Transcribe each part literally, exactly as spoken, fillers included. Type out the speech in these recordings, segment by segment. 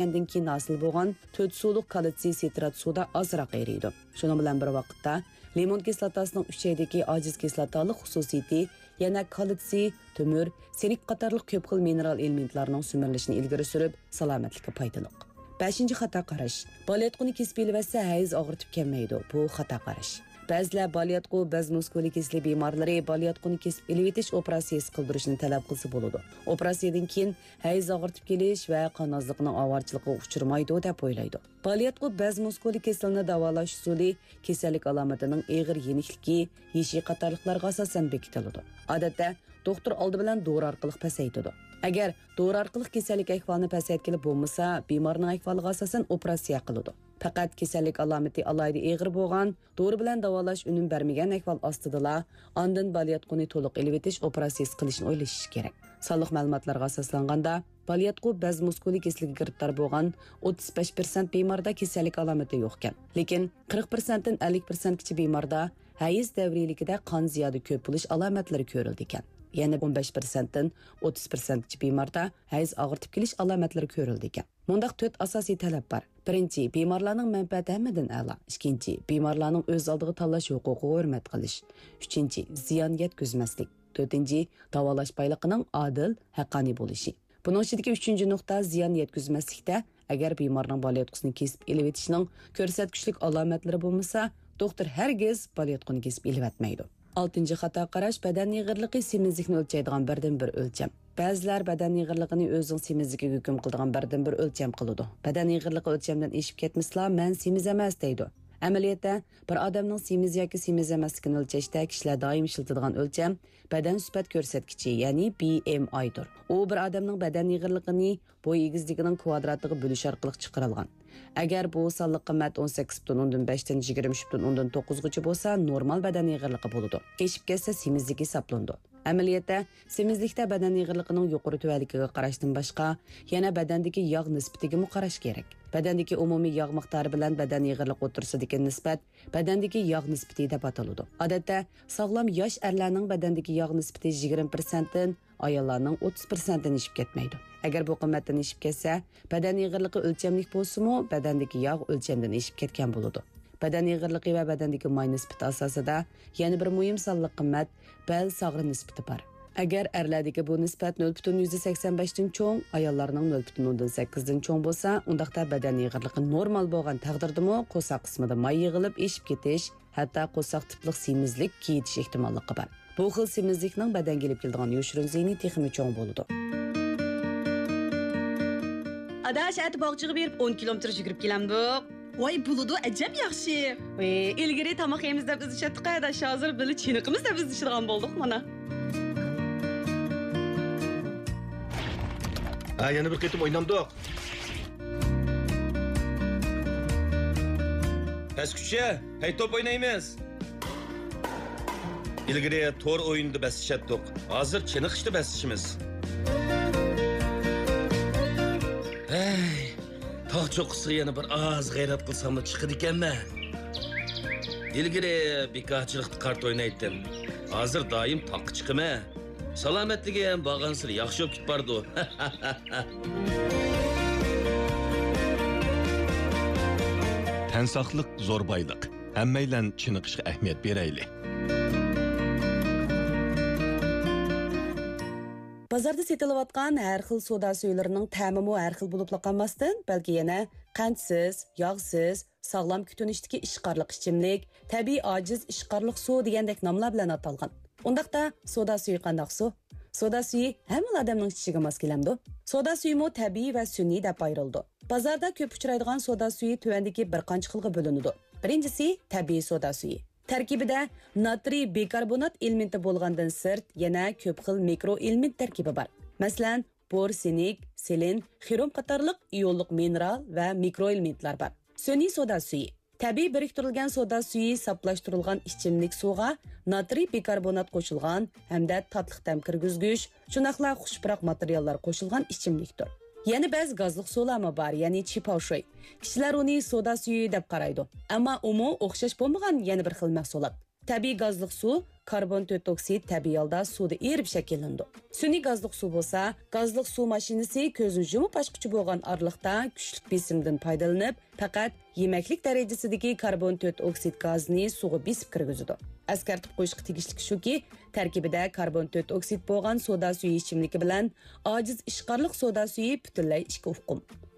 ئىچكەندىن كېيىن ھاسىل بولغان تۆت سۇلۇق كالتسىي سىترات سۇدا ئازراق ئېرىيدۇ. شۇنىڭ بىلەن بىر ۋاقىتتا، لىمون كىسلاتاسىنىڭ ئۈچەيدىكى ئاجىز كىسلاتالىق خۇسۇسىيىتى يەنە كالتسىي، تۆمۈر، سىنك قاتارلىق كۆپ خىل مىنېرال ئېلېمېنتلارنىڭ سۈمۈرۈلۈشىنى ئىلگىرى سۈرۈپ، سالامەتلىككە پايدىلىق. بەشىنچى خاتا قاراش. بالىياتقۇنى كېسىپ ئېلىۋەتسە، ھەيز ئاغرىتىپ كەلمەيدۇ. بۇ خاتا قاراش. بەزىلەر بالىياتقۇ بەز مۇسكۇلى كېسىلى بىمارلىرى بالىياتقۇنى كېسىپ ئېلىۋېتىش ئوپېراتسىيىسى قىلدۇرۇشنى تەلەپ قىلسا بولىدۇ. ئوپېراتسىيەدىن كېيىن ھەيز ئاغرىتىپ كېلىش ۋە قان ئازلىقىنىڭ ئاۋارىچىلىقىغا ئۇچرىمايدۇ، دەپ ئويلايدۇ. بالىياتقۇ بەز مۇسكۇلى كېسىلىنى داۋالاش ئۇسۇلى كېسەللىك ئالامىتىنىڭ ئېغىر يېنىكلىكى، يېشى قاتارلىقلارغا ئاساسەن بېكىتىلىدۇ. ئادەتتە، دوختۇر ئالدى بىلەن دورا ئارقىلىق پەسەيتىدۇ. ئەگەر دورا ئارقىلىق كېسەللىك ئەھۋالىنى پەسەيتكىلى بولمىسا، بىمارنىڭ ئەھۋالىغا ئاساسەن ئوپېراتسىيە قىلىدۇ. پەقەت كېسەللىك ئالامىتى ئالاھىدە ئېغىر بولغان، دورا بىلەن داۋالاش ئۈنۈم بەرمىگەن ئەھۋال ئاستىدىلا، ئاندىن بالىياتقۇنى تولۇق ئېلىۋېتىش ئوپېراتسىيىسى قىلىشنى ئويلىشىش كېرەك. سانلىق مەلۇماتلارغا ئاساسلانغاندا، بالىياتقۇ بەز مۇسكۇلى كېسىلىگە گىرىپتار بولغان ئوتتۇز بەش پىرسەنت بىماردا كېسەللىك ئالامىتى يوقكەن. لېكىن قىرىق پىرسەنتتىن ئەللىك پىرسەنتكىچە بىماردا ھەيز دەۋرىيلىكىدە قان زىيادە كۆپ بولۇش ئالامەتلىرى كۆرۈلىدىكەن. يەنە ئون بەش پىرسەنتتىن ئوتتۇز پىرسەنتكىچە بىماردا ھەيز ئاغرىتىپ كېلىش ئالامەتلىرى كۆرۈلىدىكەن. مۇنداق تۆت ئاساسىي تەلەپ بار. بىرىنچى، بىمارلارنىڭ مەنپەئەتى ھەممىدىن ئەلا. ئىككىنچى، بىمارلارنىڭ ئۆز ئالدىغا تاللاش ھوقۇقىغا ھۆرمەت قىلىش. ئۈچىنچى، زىيان يەتكۈزمەسلىك. تۆتىنچى، داۋالاش بايلىقىنىڭ ئادىل، ھەققانىي بولۇشى. بۇنىڭ ئىچىدىكى ئۈچىنچى نۇقتا زىيان يەتكۈزمەسلىكتە، ئەگەر بىمارنىڭ بالىياتقۇسىنى كېسىپ ئېلىۋېتىشنىڭ كۆرسەتكۈچلۈك ئالامەتلىرى بولمىسا، دوختۇر ھەرگىز بالىياتقۇنى كېسىپ ئېلىۋەتمەيدۇ. ئالتىنچى خاتا قاراش، بەدەن ئېغىرلىقى سېمىزلىكنى ئۆلچەيدىغان بىردىنبىر ئۆلچەم. بەزىلەر بەدەن ئېغىرلىقىنى ئۆزىنىڭ سېمىزلىكىگە ھۆكۈم قىلىدىغان بىردىنبىر ئۆلچەم قىلىدۇ. بەدەن ئېغىرلىقى ئۆلچەمدىن ئېشىپ كەتمىسىلا، مەن سېمىز ئەمەس دەيدۇ. ئەمەلىيەتتە، بىر ئادەمنىڭ سېمىز ياكى سېمىز ئەمەسلىكىنى ئۆلچەشتە كىشىلەر دائىم ئىشلىتىدىغان ئۆلچەم بەدەن سۈپەت كۆرسەتكۈچى، يەنى بى ئېم ئاي دۇر. ئۇ بىر ئادەمنىڭ بەدەن ئېغىرلىقىنى بوي ئېگىزلىكىنىڭ كۋادراتىغا بۆلۈش ئارقىلىق چىقىرىلغان. ئەگەر بۇ سانلىق قىممەت ئون سەككىز پۈتۈن ئوندىن بەشتىن يىگىرمە ئۈچ پۈتۈن ئوندىن توققۇزغىچە بولسا، نورمال بەدەن ئېغىرلىقى بولىدۇ. ئېشىپ كەتسە، سېمىزلىك ھېسابلىنىدۇ. ئەمەلىيەتتە، سېمىزلىكتە بەدەن ئېغىرلىقىنىڭ يۇقىرى تۆۋەنلىكىگە قاراشتىن باشقا، يەنە بەدەندىكى ياغ نىسبىتىگىمۇ قاراش كېرەك. بەدەندىكى ئومۇمىي ياغ مىقدارى بىلەن بەدەن ئېغىرلىقى ئوتتۇرىسىدىكى نىسبەت بەدەندىكى ياغ نىسبىتى دەپ ئاتىلىدۇ. ئادەتتە، ساغلام ياش ئەرلەرنىڭ بەدەندىكى ياغ نىسبىتى يىگىرمە پىرسەنتتىن، ئاياللارنىڭ ئوتتۇز پىرسەنتتىن ئېشىپ كەتمەيدۇ. ئەگەر بۇ قىممەتتىن ئېشىپ كەتسە، بەدەن ئېغىرلىقى ئۆلچەملىك بولسىمۇ، بەدەندىكى ياغ ئۆلچەمدىن ئېشىپ كەتكەن بولىدۇ. بەدەن ئېغىرلىقى ۋە بەدەندىكى ماي نىسبىتى ئاساسىدا يەنە بىر مۇھىم سانلىق قىممەت بەل ساغرا نىسبىتى بار. ئەگەر ئەرلەردىكى بۇ نىسبەت نۆل پۈتۈن يۈزدە سەكسەن بەشتىن چوڭ، ئاياللارنىڭ نۆل پۈتۈن ئوندىن سەككىزدىن چوڭ بولسا، ئۇنداقتا بەدەن ئېغىرلىقى نورمال بولغان تەقدىردىمۇ قورساق قىسمىدا ماي يىغىلىپ ئېشىپ كېتىش، ھەتتا قورساق تىپلىق سېمىزلىك كېيىتىش ئېھتىماللىقى بار. بۇ خىل سېمىزلىكنىڭ بەدەنگە ئېلىپ كېلىدىغان يوشۇرۇن زىيىنى تېخىمۇ چوڭ بولىدۇ. ئاداش، ئەتە باغچىغا بېرىپ ئون كىلومېتىر يۈگۈرۈپ كېلەمدۇق. ۋاي، بولىدۇ، ئەجەب ياخشى. ئى، ئىلگىرى تاماق يەيمىز دەپ ئىزدىشەتتۇق، ئاداش، ھازىر بىللە چېنىقىمىز دەپ ئىزدىشىدىغان بولدۇق مانا. ھە، يەنە بىر قېتىم ئوينامدۇق. پەسكۈچە، ھەي، توپ ئوينايمىز. ئىلگىرى تور ئويۇنىدا بەسلىشەتتۇق، ھازىر چېنىقىشتا بەسلىشىمىز. ھەي، تاغ چوققىسىغا يەنە بىر ئاز غەيرەت قىلساملا چىقىدىكەنمەن. ئىلگىرى بىكارچىلىقتا قارت ئوينايتتىم، ھازىر دائىم تاغقا چىقىمەن. سالامەتلىكىم بارغانسېرى ياخشى بولۇپ كېتىپ بارىدۇ. تەن ساقلىق زور بايلىق. ھەممەيلەن چېنىقىشقا ئەھمىيەت بېرەيلى. بازاردا سېتىلىۋاتقان ھەر خىل سودا سۈيىلىرىنىڭ تەمىمۇ ھەر خىل بولۇپلا قالماستىن، بەلكى يەنە قەنتسىز، ياغسىز، ساغلام كۈتۈنۈشتىكى ئىشقارلىق ئىچىملىك، تەبىئىي ئاجىز ئىشقارلىق سۇ دېگەندەك ناملار بىلەن ئاتالغان. ئۇنداقتا، سودا سۈيى قانداق سۇ؟ سودا سۈيى ھەممىلا ئادەمنىڭ ئىچىشىگە ماس كېلەمدۇ؟ سودا سۈيىمۇ تەبىئىي ۋە سۈنئىي دەپ ئايرىلىدۇ. بازاردا كۆپ ئۇچرايدىغان سودا سۈيى تۆۋەندىكى بىر قانچە خىلغا بۆلۈنىدۇ. بىرىنچىسى، تەبىئىي سودا سۈيى. تەركىبىدە ناترىي بىكاربونات ئېلېمېنتى بولغاندىن سىرت، يەنە كۆپ خىل مىكرو ئېلېمېنت تەركىبى بار. مەسىلەن، بور، سىنك، سېلېن، خرۇم قاتارلىق ئىئونلۇق مىنېرال ۋە مىكرو ئېلېمېنتلار بار. سۈنئىي سودا سۈيى. تەبىئىي بىرىكتۈرۈلگەن سودا سۈيى ساپلاشتۇرۇلغان ئىچىملىك سۇغا ناترىي بىكاربونات قوشۇلغان ھەمدە تاتلىق تەم كىرگۈزگۈچ، شۇنداقلا خۇش پۇراق ماتېرىياللار قوشۇلغان ئىچىملىكتۇر. يەنە بەزى گازلىق سۇلارمۇ بار، يەنى چىپاۋشۈي. كىشىلەر ئۇنى سودا سۈيى دەپ قارايدۇ. ئەمما ئۇمۇ ئوخشاش بولمىغان يەنە بىر خىل مەھسۇلات. تەبىئىي گازلىق سۇ كاربون تۆت ئوكسىد تەبىئىي ھالدا سۇدا ئېرىپ شەكىللىنىدۇ. سۈنئىي گازلىق سۇ بولسا، گازلىق سۇ ماشىنىسى كۆزنى يۇمۇپ ئاچقۇچە بولغان ئارىلىقتا كۈچلۈك بېسىمدىن پايدىلىنىپ، پەقەت يېمەكلىك دەرىجىسىدىكى كاربون تۆت ئوكسىد گازىنى سۇغا بېسىپ كىرگۈزىدۇ. ئەسكەرتىپ قويۇشقا تېگىشلىك شۇكى، تەركىبىدە كاربون تۆت ئوكسىد بولغان سودا سۈيى ئىچىملىكى بىلەن ئاجىز ئىشقارلىق سودا سۈيى پۈتۈنلەي ئىككى ئۇقۇم.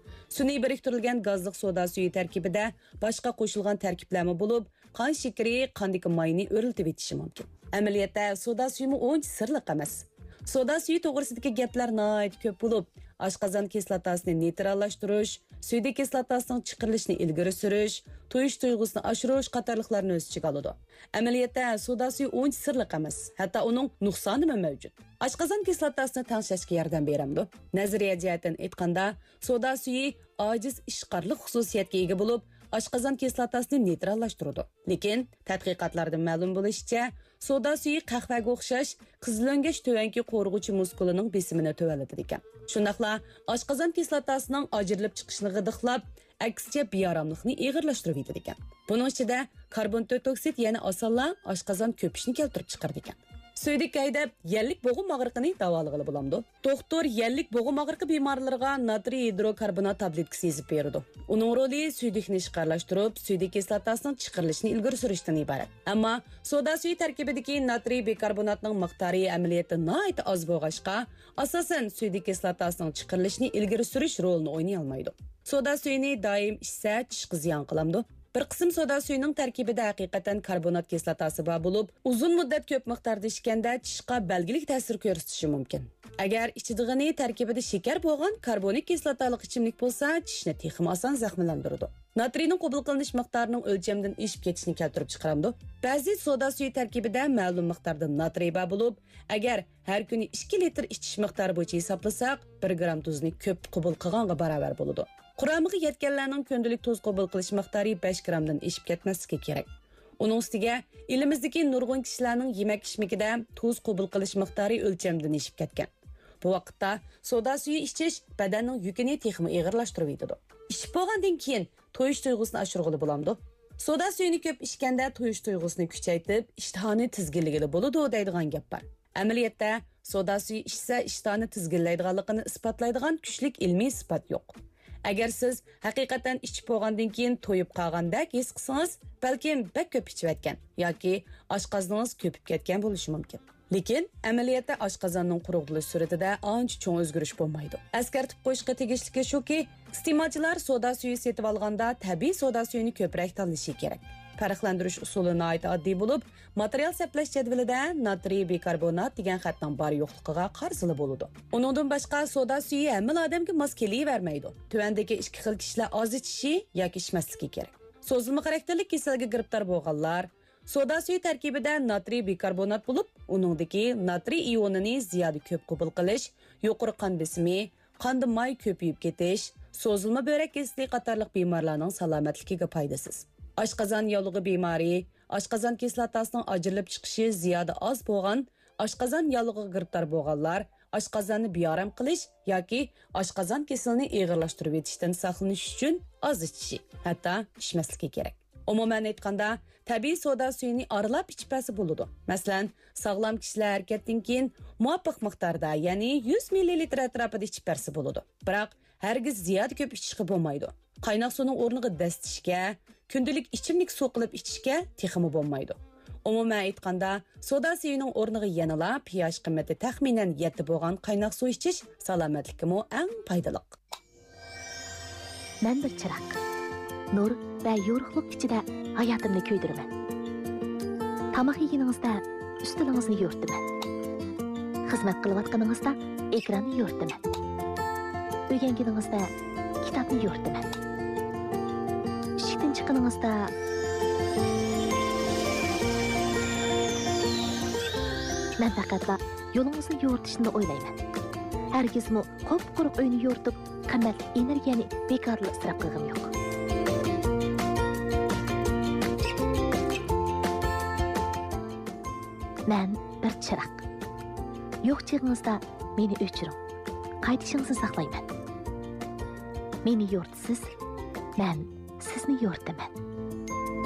سۈنئىي بىرىكتۈرۈلگەن گازلىق سودا سۈيى تەركىبىدە باشقا قوشۇلغان تەركىبلەرمۇ بولۇپ، قان شېكىرى، قاندىكى ماينى ئۆرلىتىۋېتىشى مۇمكىن. ئەمەلىيەتتە سودا سۈيىمۇ ئۇنچە سىرلىق ئەمەس. سودا سۈيى توغرىسىدىكى گەپلەر ناھايىتى كۆپ بولۇپ، ئاشقازان كىسلاتاسىنى نېيتراللاشتۇرۇش، سۈيدۈك كىسلاتاسىنىڭ چىقىرىلىشىنى ئىلگىرى سۈرۈش، تويۇش تۇيغۇسىنى ئاشۇرۇش قاتارلىقلارنى ئۆز ئىچىگە ئالىدۇ. ئەمەلىيەتتە سودا سۈيى ئۇنچە سىرلىق ئەمەس، ھەتتا ئۇنىڭ نۇقسانىمۇ مەۋجۇت. ئاشقازان كىسلاتاسىنى تەڭشەشكە ياردەم بېرەمدۇ؟ نەزەرىيە جەھەتتىن ئېيتقاندا، سودا سۈيى ئاجىز ئىشقارلىق خۇسۇسىيەتكە ئىگە بولۇپ، ئاشقازان كىسلاتاسىنى نېيتراللاشتۇرىدۇ. لېكىن تەتقىقاتلاردىن مەلۇم بولۇشىچە، سودا سۈيى قەھۋەگە ئوخشاش قىزىلۆڭگەچ تۆۋەنكى قورۇغۇچى مۇسكۇلىنىڭ بېسىمىنى تۆۋەنلىتىدىكەن. شۇنداقلا ئاشقازان كىسلاتاسىنىڭ ئاجرىلىپ چىقىشىنى غىدىقلاپ، ئەكسىچە بىئاراملىقنى ئېغىرلاشتۇرۇۋېتىدىكەن. بۇنىڭ ئىچىدە كاربون تۆت ئوكسىد يەنە ئاسانلا ئاشقازان كۆپۈشنى كەلتۈرۈپ چىقىرىدىكەن. سۈيدۈك ھەيدەپ يەللىك بوغۇم ئاغرىقىنى داۋالىغىلى بولامدۇ؟ دوختۇر يەللىك بوغۇم ئاغرىقى بىمارلىرىغا ناترىي گىدروكاربونات تابلېتكىسى يېزىپ بېرىدۇ. ئۇنىڭ رولى سۈيدۈكنى ئىشقارلاشتۇرۇپ، سۈيدۈك كىسلاتاسىنىڭ چىقىرىلىشىنى ئىلگىرى سۈرۈشتىن ئىبارەت. ئەمما سودا سۈيى تەركىبىدىكى ناترىي بىكاربوناتنىڭ مىقدارى ئەمەلىيەتتە ناھايىتى ئاز بولغاچقا، ئاساسەن سۈيدۈك كىسلاتاسىنىڭ چىقىرىلىشىنى ئىلگىرى سۈرۈش رولىنى ئوينىيالمايدۇ. سودا سۈيىنى دائىم ئىچسە، چىشقا زىيان قىلامدۇ؟ بىر قىسىم سودا سۈيىنىڭ تەركىبىدە ھەقىقەتەن كاربونات كىسلاتاسى بار بولۇپ، ئۇزۇن مۇددەت كۆپ مىقداردا ئىچكەندە چىشقا بەلگىلىك تەسىر كۆرسىتىشى مۇمكىن. ئەگەر ئىچىدىغىنى تەركىبىدە شېكەر بولغان كاربونىك كىسلاتالىق ئىچىملىك بولسا، چىشنى تېخىمۇ ئاسان زەخىملەندۈرىدۇ. ناترىينىڭ قوبۇل قىلىنىش مىقدارىنىڭ ئۆلچەمدىن ئېشىپ كېتىشىنى كەلتۈرۈپ چىقىرامدۇ؟ بەزى سودا سۈيى تەركىبىدە مەلۇم مىقداردا ناترىي بار بولۇپ، ئەگەر ھەر كۈنى ئىككى لىتىر ئىچىش مىقدارى بويىچە ھېسابلىساق، بىر گرام تۇزنى كۆپ قوبۇل قىلغانغا باراۋەر بولىدۇ. قۇرامىغا يەتكەنلەرنىڭ كۈندىلىك تۇز قوبۇل قىلىش مىقدارى بەش گرامدىن ئېشىپ كەتمەسلىكى كېرەك. ئۇنىڭ ئۈستىگە، ئېلىمىزدىكى نۇرغۇن كىشىلەرنىڭ يېمەك-ئىچمىكىدە تۇز قوبۇل قىلىش مىقدارى ئۆلچەمدىن ئېشىپ كەتكەن. بۇ ۋاقىتتا سودا سۈيى ئىچىش بەدەننىڭ يۈكىنى تېخىمۇ ئېغىرلاشتۇرۇۋېتىدۇ. ئىچىپ بولغاندىن كېيىن تويۇش تۇيغۇسىنى ئاشۇرغىلى بولامدۇ؟ سودا سۈيىنى كۆپ ئىچكەندە تويۇش تۇيغۇسىنى كۈچەيتىپ، ئىشتىھانى تىزگىنلىگىلى بولىدۇ دەيدىغان گەپ بار. ئەمەلىيەتتە، سودا سۈيى ئىچسە ئىشتىھانى تىزگىنلەيدىغانلىقىنى ئىسپاتلايدىغان كۈچلۈك ئىلمىي ئىسپات يوق. ئەگەر سىز ھەقىقەتەن ئىچىپ بولغاندىن كېيىن تويۇپ قالغاندەك ھېس قىلسىڭىز، بەلكىم بەك كۆپ ئىچىۋەتكەن ياكى ئاشقازىنىڭىز كۆپۈپ كەتكەن بولۇشى مۇمكىن. لېكىن ئەمەلىيەتتە ئاشقازاننىڭ قۇرۇق بولۇش سۈرئىتىدە ئانچە چوڭ ئۆزگىرىش بولمايدۇ. ئەسكەرتىپ قويۇشقا تېگىشلىكى شۇكى، ئىستېمالچىلار سودا سۈيى سېتىۋالغاندا تەبىئىي سودا سۈيىنى كۆپرەك تاللىشى كېرەك. پەرقلەندۈرۈش ئۇسۇلى ناھايىتى ئاددىي بولۇپ، ماتېرىيال سەپلەش جەدۋىلىدە ناترىي بىكاربونات دېگەن خەتنىڭ بار-يوقلۇقىغا قارىسىلا بولىدۇ. ئۇنىڭدىن باشقا، سودا سۈيى ھەممىلا ئادەمگە ماس كېلىۋەرمەيدۇ. تۆۋەندىكى ئىككى خىل كىشىلەر ئاز ئىچىشى ياكى ئىچمەسلىكى كېرەك. سوزۇلما خاراكتېرلىك كېسەلگە گىرىپتار بولغانلار، سودا سۈيى تەركىبىدە ناترىي بىكاربونات بولۇپ، ئۇنىڭدىكى ناترىي ئىيونىنى زىيادە كۆپ قوبۇل قىلىش، يۇقىرى قان بېسىمى، قاندا ماي كۆپىيىپ كېتىش، سوزۇلما بۆرەك كېسىلى قاتارلىق بىمارلارنىڭ سالامەتلىكىگە پايدىسىز. ئاشقازان ياللۇغى بىمارى، ئاشقازان كىسلاتاسىنىڭ ئاجرىلىپ چىقىشى زىيادە ئاز بولغان، ئاشقازان ياللۇغىغا گىرىپتار بولغانلار، ئاشقازاننى بىئارام قىلىش ياكى ئاشقازان كېسىلىنى ئېغىرلاشتۇرۇۋېتىشتىن ساقلىنىش ئۈچۈن ئاز ئىچىشى، ھەتتا ئىچمەسلىكى كېرەك. ئومۇمەن ئېيتقاندا، تەبىئىي سودا سۈيىنى ئارىلاپ ئىچىپ بەرسە بولىدۇ. مەسىلەن، ساغلام كىشىلەر ھەرىكەتتىن كېيىن مۇۋاپىق مىقداردا، يەنى يۈز مىللىلىتىر ئەتراپىدا ئىچىپ بەرسە بولىدۇ. بىراق، ھەرگىز زىيادە كۆپ ئىچىشكە بولمايدۇ. قايناق سۇنىڭ ئورنىغا دەستىشكە، كۈندىلىك ئىچىملىك سۇ قىلىپ ئىچىشكە تېخىمۇ بولمايدۇ. ئومۇمەن ئېيتقاندا، سودا سۈيىنىڭ ئورنىغا يەنىلا پىياش قىممىتى تەخمىنەن يەتتە بولغان قايناق سۇ ئىچىش سالامەتلىككىمۇ ئەڭ پايدىلىق. مەن بىر چىراغ. نۇر ۋە يورۇقلۇق ئىچىدە ھاياتىمنى كۆيدۈرىمەن. تاماق يېگىنىڭىزدە ئۈستىلىڭىزنى يورۇتىمەن. خىزمەت قىلىۋاتقىنىڭىزدا ئېكراننى يورۇتىمەن. ئۆگەنگىنىڭىزدە كىتابنى يورۇتىمەن. ئىشىكتىن چىققىنىڭىزدا مەن پەقەتلا يولىڭىزنى يورۇتۇشنىلا ئويلايمەن. ھەرگىزمۇ قۇپقۇرۇق ئۆينى يورۇتۇپ، قىممەتلىك ئېنېرگىيەنى بىكارلا ئىسراپ قىلغىنىم يوق. مەن بىر چىراغ. يوق چېغىڭىزدا مېنى ئۆچۈرۈڭ. قايتىشىڭىزنى ساقلايمەن. مېنى يورۇتىسىز، مەن سىزنى يورۇتىمەن.